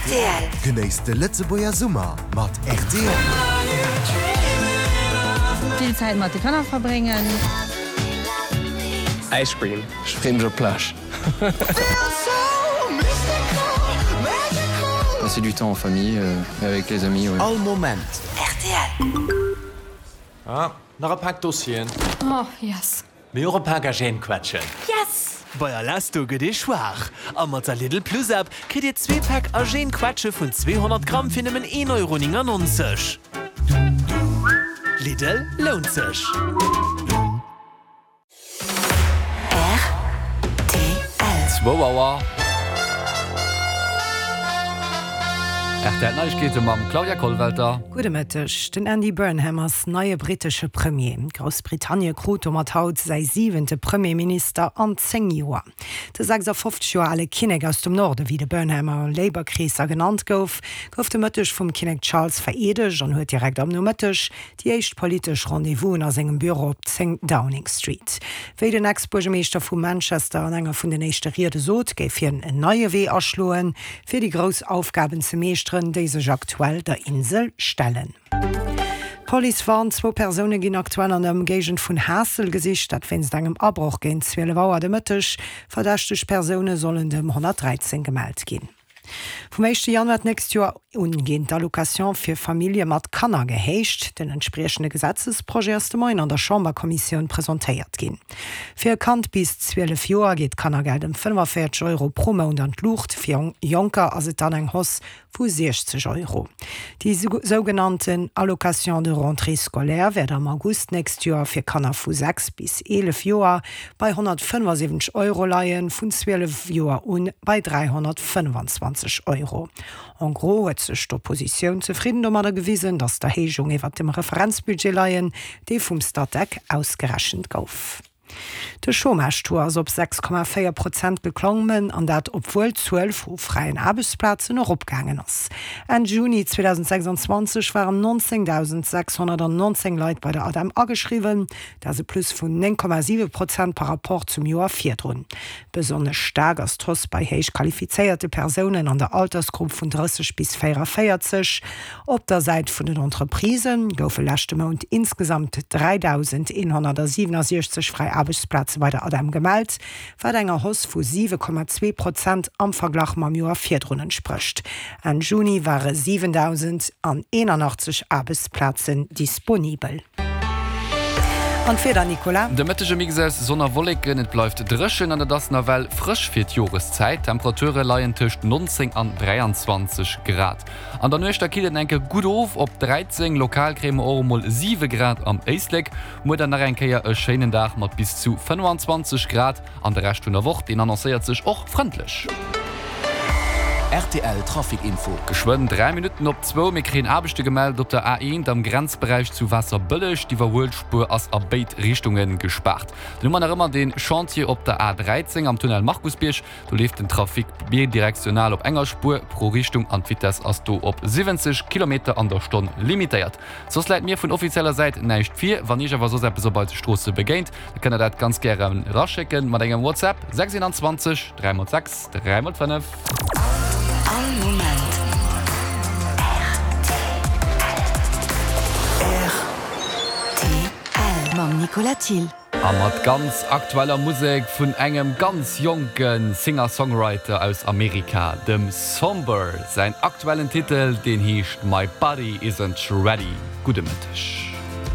Rtl. Genéisst de Lëtzebuerger Summer mat rtl. Vill Zäit mat de Kanner verbréngen. Ice cream. Ech freeë mech op d'Plage. Passer du temps en famille et avec les amis, ouais. All Moment. Rtl. Ah, nach e Pak Dossieren. Oh, yes. Mee och e Pak Agènequetschen. Yes! Bei Alesto gëtt ee schwaach a mat der Lidl Plus App kritt Dir zwee Päck Agènequetsche vun 200 Gramm fir nëmmen 1,99 Euro. Lidl, lount sech! Rtl. Zwou Auer. Rtl Neiegkeete mam Claudia Kollwelter. Gudde Mëtteg. Den Andy Burnham ass neie brittesche Premier. Groussbritannie krut domat haut säi siwente Premierminister an 10 Joer. De 56 Joer ale Kinnek aus dem Norde, wéi de Burnham a Labour-Kreesser genannt gouf, gouf de Mëtteg vum Kinnek Charles vereedegt an huet direkt am Nomëtteg Déi éischt politesch Rendez-vousen a sengem Büro op 10 Downing Street. Wéi den Ex-Buergermeeschter vu Manchester an enger vun den éischte Riede sot, géif hien en neie Wee aschloen, fir déi grouss Aufgaben ze meeschteren, déi sech aktuell der Insel stellen. D'Police warnt, Zwou Persoune ginn aktuell an der Ëmgéigend vun Haassel gesicht, dat wéinst engem Abroch géint 12 Auer de Mëtteg. Verdächteg Persoune sollen dem 113 gemellt ginn. Vum éischte Januar d'nächst Joer un ginn d'Allocation fir Famillje mat Kanner gehéicht. Den entspriechende Gesetzesprojet ass de Moien an der Chamberkommissioun presentéiert ginn. Fir e Kand bis 12 Joer geet d'Kannergeld ëm 45 Euro pro Mount an d'Luucht, fir Jonker ass et dann eng Hausse vu 60 Euro. Déi sougenannten Allocation de rentrée scolaire wäert am August d'nächst Joer fir Kanner vu 6 bis 11 Joer bei 175 Euro leien, vun 12 Joer un bei 325 Euro. En gros huet sech d'Oppositioun zefridden domadder gewisen, datt d'Erhéijung iwwert dem Referenzbudget leien, dee vum Statec ausgerechent gouf. De Chômage-Taux ass op 6,4 Prozent geklommen, an dat obwuel d'Zuel vu fräien Aarbechtsplazen eropgaangen ass. Enn Juni 2026 waren 19.619 Leit bei der ADEM ageschriwwen, Dat ass e Plus vun 9,7 Prozent par Rapport zum Joer virdrun. Besonnesch staark ass d'Hausse bei héich qualifizéierte Persounen an der Altersgrupp vun 30 bis 44. Op der Säit vun den Entreprisë goufe leschte Mount insgesamt 3.167 fräi Aarbechtsplaze bei der ADEM gemellt, wat enger Hausse vu 7,2 Prozent am Verglach mam Joer virdrun entsprécht. Enn Juni ware 7.081 Aarbechtsplazen disponibel. An d'Wieder, Nicolas? De Mëtteg e Mix aus Sonn a Wolleken, et bleift dréchen an et ass nawell frësch fir d'Joreszäit. D'Temperature leien tëscht 19 an 23 Grad. An der Nuecht da killt et eng Kéier gutt of op 13, lokal kréie mer och emol 7 Grad am Éislek. Muer dann nach eng Kéier e schéinen Dag mat bis zu 25 Grad. An de Rescht vun der Woch, deen annoncéiert sech och frëndlech. Rtl Trafic Info. Geschwënn 3 Minutten op zwou, mir kréien Aarbechte gemellt op der A1 am Grenzberäich zu Waasserbëlleg. D'Iwwerhuelspuer ass a béid Richtunge gespaart. Dann hu mer nach ëmmer de Chantier op der A13 am Tunnel Markusbierg. Do leeft den Trafic bidirektional op enger Spuer pro Richtung an d'Vitess ass do op 70 Kilometer an der Stonn limitéiert. Soss läit mir vun offizieller Säit näischt vir. Wann Iech awer soss eppes op eise Stroosse begéint, da kënnt der dat ganz gären eraschécken mat engem WhatsApp, 6 21 3 x 6 3 x 5. All Moment rtl. Mam Nicolas Thill. A mat ganz aktueller Musek vun engem ganz jonke Singer-Songwriter aus Amerika, dem Sombr. Säin aktuellen Titel, deen heescht My Body Isn't Ready. Gudde Mëtteg.